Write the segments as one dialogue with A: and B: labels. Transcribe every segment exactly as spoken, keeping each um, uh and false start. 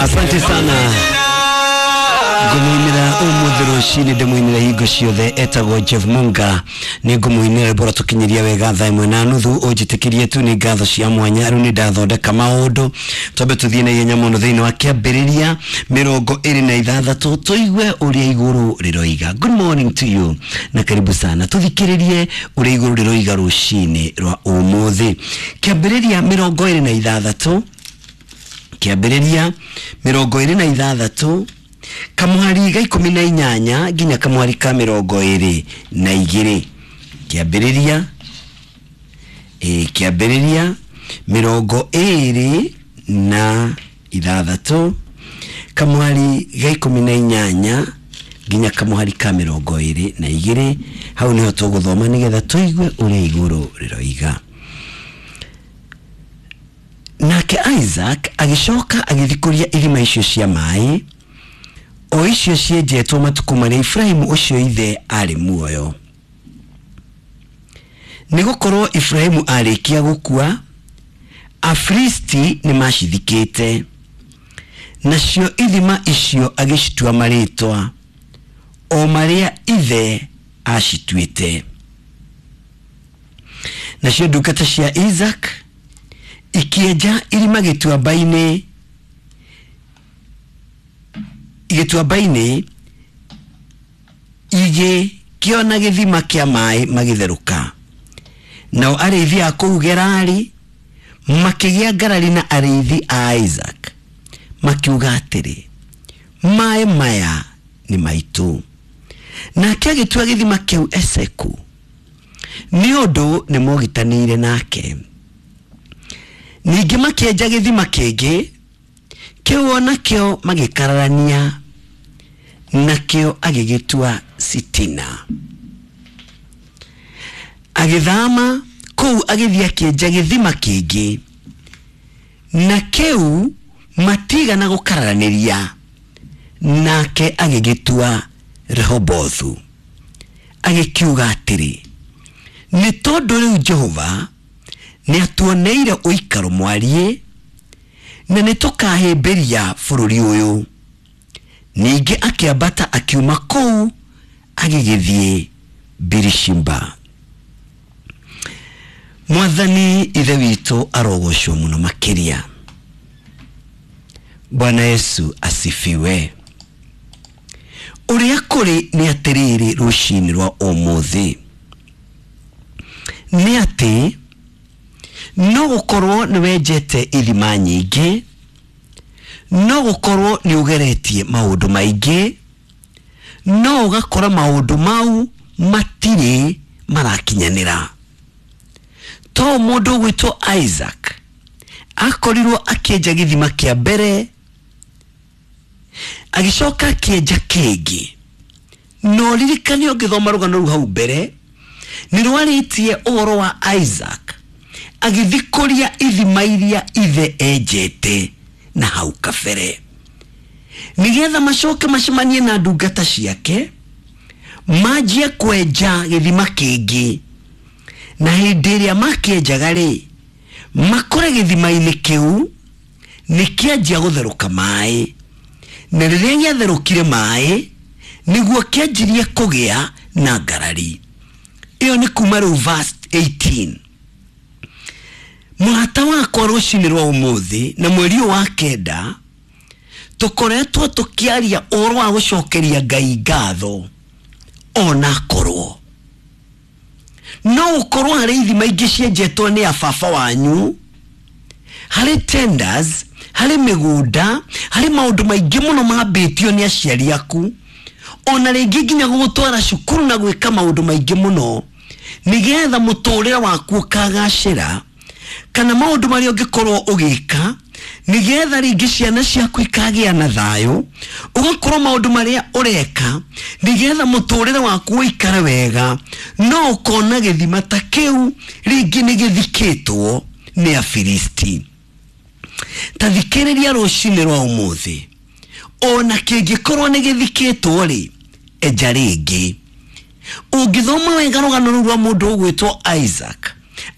A: Asante sana. Ngumuinira umuthi rucini ndimuinira hingo ciothe etagwo Jeff Munga ni ngumuinira bora tukinyiria wega thaa imwe na nuthu unjitikirie tu ni ngatho cia mwanya riu ni ndathondeka maundu twambe tuthie na ihenya muno thiini wa kiambiriria mirongo iri na ithathatu tuigue uria iguru riroiga. Good morning to you na karibu sana tuthikiririe uria iguru riroiga rucini rwa umuthi. Kiambiriria mirongo iri na ithathatu kiambiriria mirongo iri na ithathatu kamuhari ga ikumi na inyanya nginya kamuhari ka mirongo iri na igiri. Kiambiriria e kiambiriria mirongo iri na ithathatu kamuhari ga ikumi na inyanya nginya kamuhari ka mirongo iri na igiri. Hau niho tuguthoma nigetha tuigue uria iguru riroiga. Nake Isaac agicoka agithikuria irima icio cia mai o icio cienjetwo matuku marĩa Ibrahimu ũcio ithe arĩ muoyo. Nĩgũkorwo Ibrahimu arĩkia gũkua, Afilisti nĩmacithikĩte, nacio ithima icio agĩcitua marĩtwa o marĩa ithe acituĩte. Nacio ndungata cia Isaac ikĩenja irima gĩtuamba-inĩ gĩtuamba-inĩ igĩkĩona gĩthima kĩa maĩ magĩtherũka. Nao arĩithi a kũu Gerari makĩgĩa ngarari na arĩithi a Isaac makiuga atĩrĩ, maĩ maya nĩ maitũ. Nake agĩtua gĩthima kĩu Eseku nĩ ũndũ nĩmogitanĩire nake. Ningĩ makĩenja gĩthima kĩngĩ kĩu onakĩo magĩkararania nakĩo agĩgĩtua Sitina. Agĩthama kũu agĩthiĩ akĩenja gĩthima kĩngĩ na kĩu matigana gũkararanĩria nake agĩgĩtua Rehobothu. Agĩkiuga atĩrĩ, nĩ tondũ rĩu Jehova nĩatuoneire ũikaro mwariĩ na nĩtũkahĩmbĩria bũrũri ũyũ. Ningĩ akĩambata akiuma kũu agĩgĩthiĩ Birishimba. Mwathani ithe witũ arogocwo mũno makĩria. Bwana Yesu asifiwe. Ũrĩa kũrĩ nĩ atĩrĩrĩ rũcinĩ rwa ũmũthĩ nĩ atĩ no gũkorwo nĩ wenjete ithima nyingĩ, no gũkorwo nĩ ũgeretie maũndũ maingĩ, no ũgakora maũndũ mau matirĩ marakinyanĩra. To mũndũ ũgwĩtwo Isaac akorirwo akĩenja gĩthima kĩa mbere agĩcoka akĩenja kĩngĩ. No ririkane ũngĩthoma rũgano rũu hau mbere nĩ rwarĩtie ũhoro wa Isaac agĩthikũria ithima iria ithe enjete na hau kabere nigetha macoke macemanie na ndungata ciake manjie kwenja gĩthima kĩngĩ. Na hĩndĩ ĩrĩa makĩenjaga rĩ, makore gĩthima-inĩ kĩu nĩkĩanjia gũtherũka maĩ, na rĩrĩa gĩatherũkire maĩ nĩguo kĩanjirie kũgĩa na ngarari. Ĩyo nĩ kuma rĩu verse eighteen. Mũrata wakwa rũcinĩ rwa ũmũthĩ na mweri ũyũ wa kenda tũkoretwo tũkĩaria ũhoro wa gũcokeria Ngai ngatho onakorwo no ũkorwo harĩ ithima ingĩ cienjetwo nĩ ababa wanyu, harĩ tenders, harĩ mĩgũnda, harĩ maũndũ maingĩ mũno mambĩtio nĩ aciari aku, ona rĩngĩ nginya gũgũtwara cukuru na gwĩka maũndũ maingĩ mũno nĩgetha mũtũrĩre waku ũkagacĩra, kana maũndũ marĩa ũngĩkorwo ũgĩka nĩgetha rĩngĩ ciana ciaku ikagĩa na thayũ, ũgakorwo maũndũ marĩa ũreka nĩgetha mũtũrĩre waku ũikare wega, no ũkona gĩthima ta kĩu rĩngĩ nĩ gĩthikĩtwo nĩ Afilisti. Ta thikĩrĩria rũcinĩ rwa ũmũthĩ, ona kĩngĩkorwo nĩ gĩthikĩtwo rĩ, enja rĩngĩ. Ũngĩthoma wega rũgano rũu rwa mũndũ ũgwĩtwo Isaac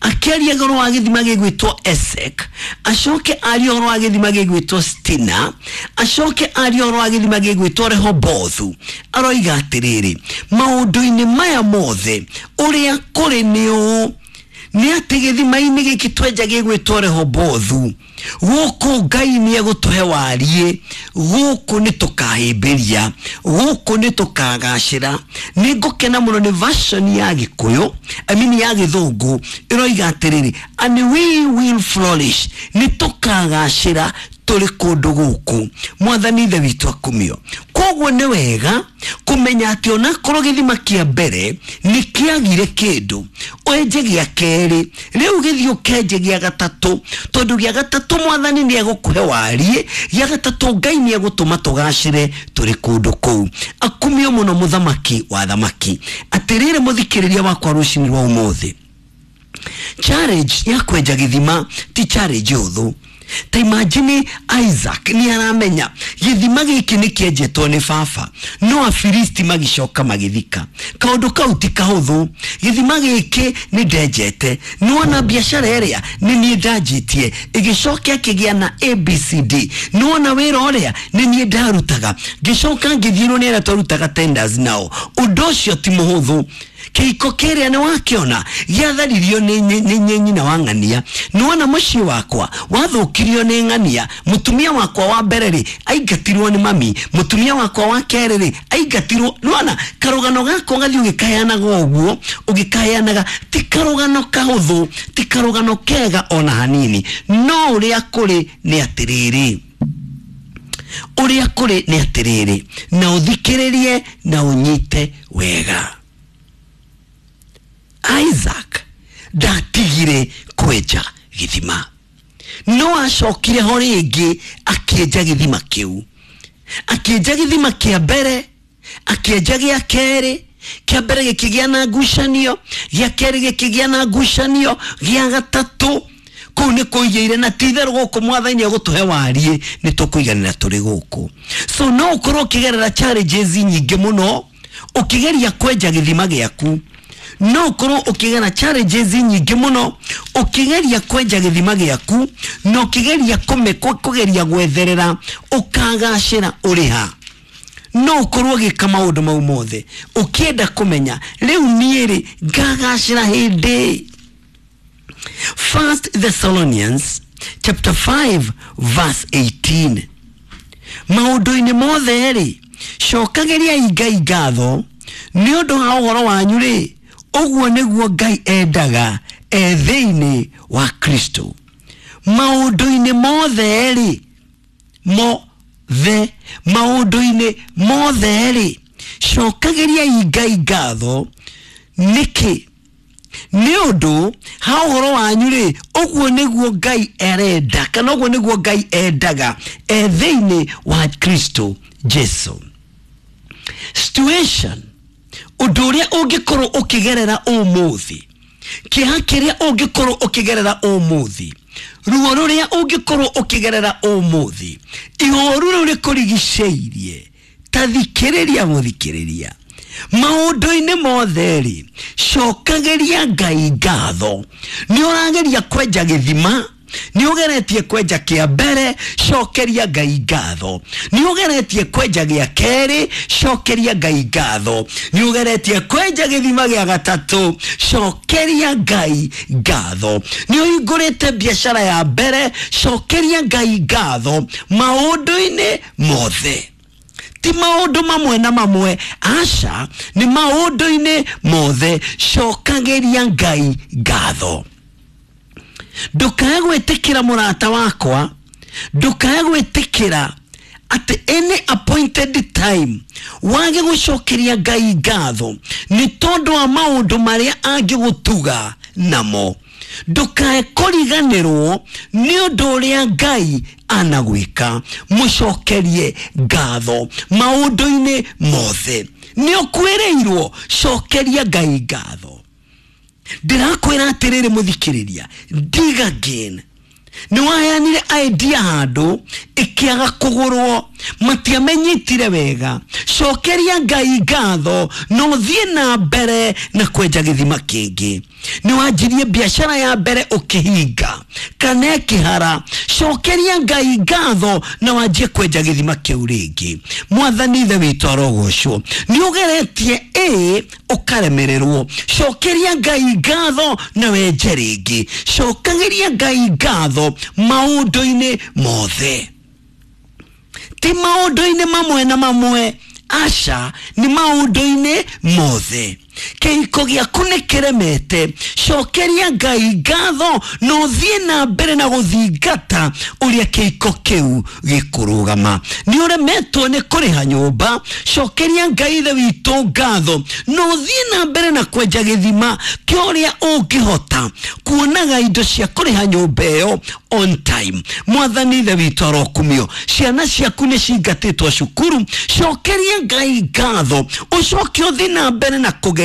A: Akĩaria ũhoro wa gĩthima gĩgwĩtwo Esek, acoke arie ũhoro wa gĩthima gĩgwĩtwo Stina, acoke arie ũhoro wa gĩthima gĩgwĩtwo Rehobothu. Aroiga atĩrĩrĩ, maũndũ-inĩ maya mothe ũrĩa kũrĩ nĩ ũũ, nĩ atĩ gĩthima-inĩ gĩkĩ twenja gĩgwĩtwo Rehobothu, gũkũ Ngai nĩ egũtũhe wariĩ, gũkũ nĩ tũkahĩmbĩria, gũkũ nĩ tũkagacĩra. Nĩ ngũkena mũno nĩ version ya Gĩkũyũ, I mean ya Gĩthũngũ, ĩroiga atĩrĩrĩ, and we will flourish, nĩ tũkagacĩra tũrĩ kũndũ gũkũ. Mwathani Ithe witũ akumio. Koguo nĩ wega kũmenya atĩ onakorwo gĩthima kĩa mbere nĩ kĩagire kĩndũ, wenje gĩa kerĩ, rĩu gĩthiĩ ũkenje gĩa gatatũ, tondũ gĩa gatatũ Mwathani nĩ egũkũhe wariĩ, gĩa gatatũ Ngai nĩ egũtũma tũgacĩre tũrĩ kũndũ kũu. Akumio mũno mũthamaki wa thamaki. Atĩrĩrĩ mũthikĩrĩria wakwa rũcinĩ rwa ũmũthĩ, challenge ya kwenja gĩthima ti challenge hũthũ. Ta imagine Isaac nĩ aramenya gĩthima gĩkĩ nĩ kĩenjetwo nĩ baba, no Afilisti magĩcoka magĩthika. Kaũndũ kau ti kahũthũ. Gĩthima gĩkĩ nĩ ndenjete, nĩwona biacara ĩrĩa nĩ niĩ ndanjĩtie, ĩgĩcoka ĩkĩgĩa na A B C D, nĩwona wĩra ũrĩa nĩ niĩ ndarutaga, ngĩcoka ngĩthiĩrwo nĩ arĩa twarutaga tenders nao. Ũndũ ũcio ti mũhũthũ. Kĩhiko kĩrĩa nĩ wakĩona gĩatharirio nĩ nyina wa ng'ania, nĩwona mũciĩ wakwa wathũkirio nĩ ng'ania, mũtumia wakwa wa mbere rĩ aingatirwo nĩ mami, mũtumia wakwa wa kerĩ rĩ aingatirwo. Nĩwona karũgano gakwa gathiĩ ũgĩkaheanaga ũguo, ũgĩkaheanaga, ti karũgano kahũthũ, ti karũgano kega ona hanini. No ũrĩa kũrĩ nĩ atĩrĩrĩ, ũrĩa kũrĩ nĩ atĩrĩrĩ, na ũthikĩrĩrie na ũnyite wega. Isaac ndatigire kwenja gĩthima, no acokire ho rĩngĩ akĩenja gĩthima kĩu. Akĩenja gĩthima kĩa mbere, akĩenja gĩa kerĩ, kĩa mbere gĩkĩgĩa na ngucanio, gĩa kerĩ gĩkĩgĩa na ngucanio, gĩa gatatũ kũu nĩ kũigĩire, na ti itherũ gũkũ Mwathani egũtũhe wariĩ, nĩ tũkũiganĩra tũrĩ gũkũ. So no ũkorwo ũkĩgerera challenges nyingĩ mũno ũkĩgeria kwenja gĩthima gĩaku, no ũkorwo ũkĩgera challenges nyingĩ mũno ũkĩgeria kwenja gĩthima gĩaku, na ũkĩgeria kũgeria gwetherera ũkagacĩra ũrĩ ha. No ũkorwo ũgĩka maũndũ mau mothe ũkĩenda kũmenya rĩu niĩ rĩ ngagacĩra hĩndĩ. First Thessalonians chapter five verse eighteen. Maũndũ-inĩ mothe rĩ cokagĩriai Ngai ngatho nĩ ũndũ wa ũhoro wanyu rĩ, ũguo nĩguo Ngai endaga e thĩinĩ wa Kristo. Maũndũ-inĩ mothe rĩ, mothe, maũndũ-inĩ mothe rĩ cokagĩriai Ngai ngatho nĩkĩ? Nĩ ũndũ ha ũhoro wanyu rĩ, ũguo nĩguo Ngai arenda, kana ũguo nĩguo Ngai endaga e thĩinĩ wa Kristo Jesu. Situation, ũndũ ũrĩa ũngĩkorwo ũkĩgerera ũmũthĩ, kĩeha kĩrĩa ũngĩkorwo ũkĩgerera ũmũthĩ, ruo rũrĩa ũngĩkorwo ũkĩgerera ũmũthĩ, ihoru rĩu rĩkũrigicĩirie, ta thikĩrĩria mũthikĩrĩria, maũndũ-inĩ mothe rĩ cokagĩria Ngai ngatho. Nĩ ũrageria kwenja gĩthima, nĩ ũgeretie kwenja kĩa mbere, cokeria Ngai ngatho. Nĩ ũgeretie kwenja gĩa kerĩ, cokeria Ngai ngatho. Nĩ ũgeretie kwenja gĩthima gĩa gatatũ, cokeria Ngai ngatho. Nĩ ũhingũrĩte biacara ya mbere, cokeria Ngai ngatho. Maũndũ-inĩ mothe, ti maũndũ mamwe na mamwe, aca, nĩ maũndũ-inĩ mothe cokagĩria Ngai ngatho. Ndũkae gwĩtĩkĩra mũrata wakwa, ndũkae gwĩtĩkĩra at any appointed time wage gũcokeria Ngai ngatho nĩ tondũ wa maũndũ marĩa angĩgũtuga namo. Ndũkae kũriganĩrwo nĩ ũndũ ũrĩa Ngai anagwĩka, mũcokerie ngatho maũndũ-inĩ mothe. Nĩ ũkwĩrĩirwo, cokeria Ngai ngatho. Ndĩrakwĩra atĩrĩrĩ mũthikĩrĩria, dig again. Nĩ waheanire idea handũ ĩkĩaga kũgũrwo, Matiamenyitire wega. Cokeria Ngai ngatho na ũthiĩ na mbere na kwenja gĩthima kĩngĩ. Nĩ wanjirie biashara ya mbere ũkĩhinga kana ĩkĩhara, cokeria Ngai ngatho na wanjie kwenja gĩthima kĩu rĩngĩ. Mwathani Ithe witũ arogocwo. Nĩ ũgeretie ĩ ũkaremererwo, cokeria Ngai ngatho na wenje rĩngĩ. Cokagĩria Ngai ngatho maũndũ-inĩ mothe, ti maũndũ-inĩ mamwe na mamwe, aca, nĩ maũndũ-inĩ mothe. Kĩhiko gĩaku nĩ kĩremete, cokeria Ngai ngatho na ũthiĩ na mbere na gũthingata ũrĩa kĩhiko kĩu gĩkũrũgama. Nĩ ũremetwo nĩ kũrĩha nyũmba, cokeria Ngai Ithe witũ ngatho na ũthiĩ na mbere na kwenja gĩthima kĩa ũrĩa ũngĩhota kuonaga indo cia kũrĩha nyũmba ĩyo on time. Mwathani Ithe witũ arokumio. Ciana ciaku nĩ cingatĩtwo cukuru, cokeria Ngai ngatho ũcoke ũthiĩ na mbere na kũgeria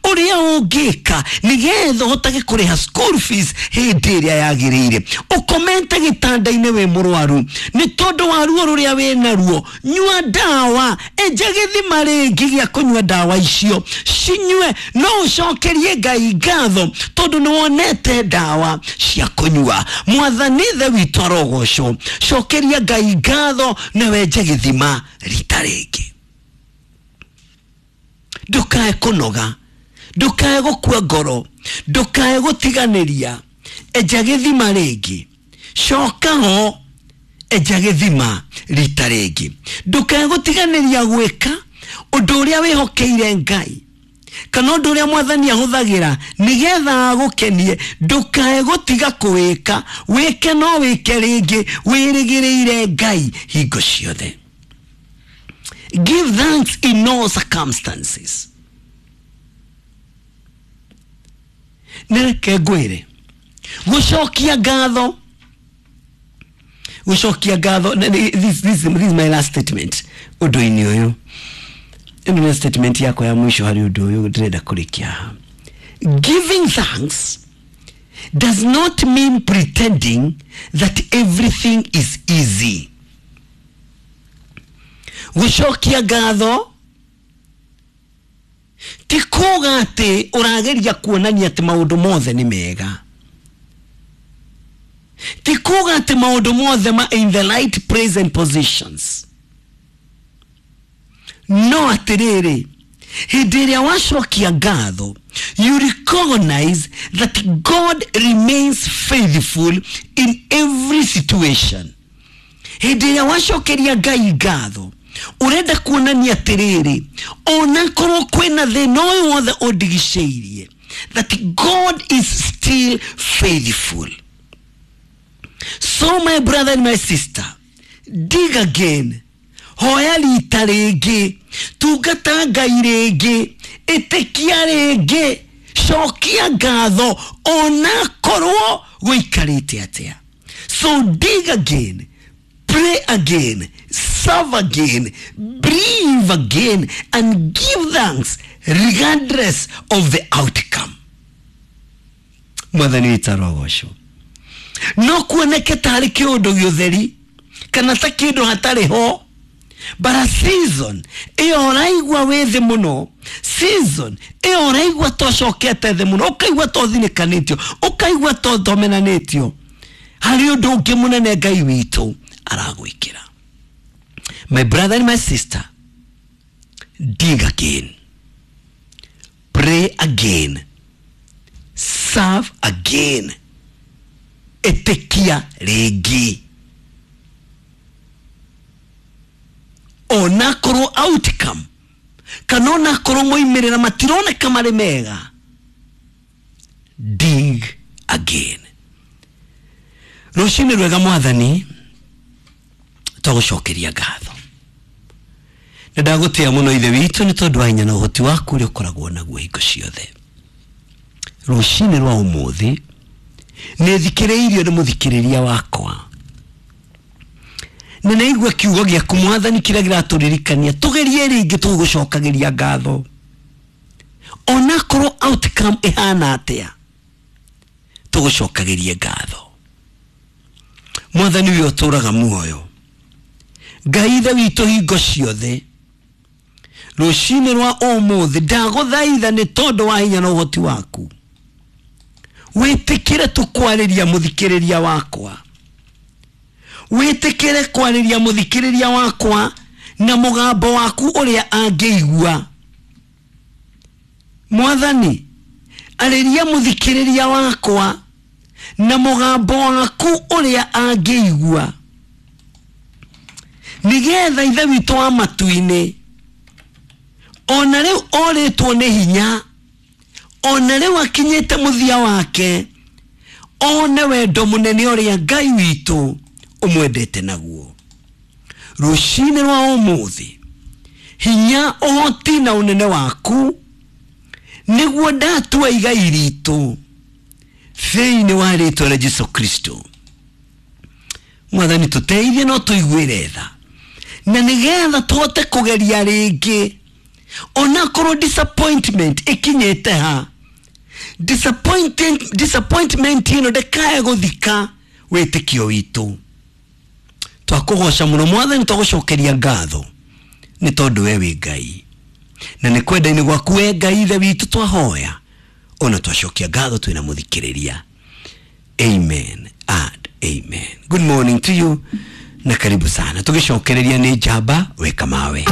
A: ũrĩa ũngĩka nĩgetha ũhotage kũrĩha school fees hĩndĩ ĩrĩa yagĩrĩire. Ũkomete gĩtanda-inĩ wĩ mũrwaru nĩ tondũ wa ruo rũrĩa wĩ naruo, nyua ndawa, enja gĩthima rĩngĩ gĩa kũnyua ndawa icio, cinyue, no ũcokerie Ngai ngatho tondũ nĩ wonete ndawa cia kũnyua. Mwathani Ithe witũ arogocwo. Cokeria Ngai ngatho na wenje gĩthima rita rĩngĩ. Ndukae kũnoga, ndukae gũkua ngoro, ndukae gũtiganĩria. Enja gĩthima rĩngĩ, coka ho, enja gĩthima rita rĩngĩ. Ndukae gũtiganĩria gwĩka ũndũ ũrĩa wĩhokeire Ngai kana ũndũ ũrĩa Mwathani ahũthagĩra nĩgetha agũkenie. Ndukae gũtiga kũwĩka, wĩke no wĩke rĩngĩ, wĩrĩgĩrĩire Ngai hingo ciothe. Give thanks in all circumstances. Nĩreke ngwĩre, gũcokia ngatho, gũcokia ngatho, this, this, this is my last statement ũndũ-inĩ ũyũ. Ĩno nĩ statement yakwa ya mũico harĩ ũndũ ũyũ ndĩrenda kũrĩkia haha. Giving thanks does not mean pretending that everything is easy. Gũcokia ngatho ti kuga atĩ ũrageria kuonania atĩ maũndũ mothe nĩ mega, ti kuga atĩ maũndũ mothe ma in the right place and positions. No atĩrĩrĩ, hĩndĩ ĩrĩa wacokia ngatho, you recognize that God remains faithful in every situation. Hĩndĩ ĩrĩa wacokeria Ngai ngatho, ũrenda kuonania atĩrĩrĩ, onakorwo kwĩna thĩna ũyũ wothe ũndigicĩirie, that God is still faithful. So my brother and my sister, dig again, hoya rita rĩngĩ, tungata Ngai rĩngĩ, ĩtĩkia rĩngĩ, cokia ngatho onakorwo gũikarĩte atĩa. So dig again, pray again, serve again, breathe again, and give thanks regardless of the outcome. Mwathani witũ arogocwo. No kuoneke tarĩ kĩũndũ gĩũtheri kana ta kĩndũ hatarĩ ho, but a season ĩyo ũraigua wĩ thĩ mũno, season ĩyo ũraigua tocokete thĩ mũno, ũkaigua tothinĩkanĩtio, ũkaigua tothomenanĩtio, harĩ ũndũ ũngĩ mũnene Ngai witũ aragwĩkĩra. My brother and my sister, dig again, pray again, serve again, ĩtĩkia rĩngĩ. Onakorwo outcome kana onakorwo moimĩrĩra matironeka marĩ mega, dig again. Rũcinĩ rwega Mwathani, twagũcokeria ngatho. Nĩ ndagũtĩa mũno Ithe witũ nĩ tondũ wa hinya na ũhoti waku ũrĩa ũkoragwo naguo hingo ciothe. Rũcinĩ rwa ũmũthĩ nĩ thikĩrĩirio nĩ mũthikĩrĩria wakwa, nĩ naigua kiugo gĩaku Mwathani kĩrĩa kĩratũririkania tũgerie rĩngĩ tũgũcokagĩria ngatho onakorwo outcome ĩhana atĩa, tũgũcokagĩrie ngatho. Mwathani ũyũ ũtũraga muoyo, Ngai ithe witũ hingo ciothe rũcinĩ rwa ũmũthĩ ndagũthaitha nĩ tondũ wa hinya na ũhoti waku wĩtĩkĩre tũkwarĩria mũthikĩrĩria wakwa, wĩtĩkĩre kwarĩria mũthikĩrĩria wakwa na mũgambo waku ũrĩa angĩigua. Mwathani, arĩria mũthikĩrĩria wakwa na mũgambo waku ũrĩa angĩigua, nĩgetha ithe witũ wa matu-inĩ ona rĩu orĩtwo nĩ hinya, ona rĩu akinyĩte mũthia wake, one wendo mũnene ũrĩa Ngai witũ ũmwendete naguo. Rũcinĩ rwa ũmũthĩ hinya, ũhoti na ũnene waku nĩguo ndatua igai ritũ thĩinĩ wa rĩtwa rĩa Jesu Kristo. Mwathani tũteithie no tũiguĩre tha, na nĩgetha tũhote kũgeria rĩngĩ onakorwo disappointment ĩkinyĩte ha. Disappointment, disappointment ĩno ndĩkae gũthika wĩtĩkio witũ. Twakũgoca mũno Mwathani, twagũcokeria ngatho nĩ tondũ we wĩ Ngai, na nĩ kwenda-inĩ gwaku we Ngai ithe witũ twahoya ona twacokia ngatho twĩna mũthikĩrĩria. Amen and amen. Good morning to you na karibu sana. Tũgĩcokereria nĩ njamba weka mawe.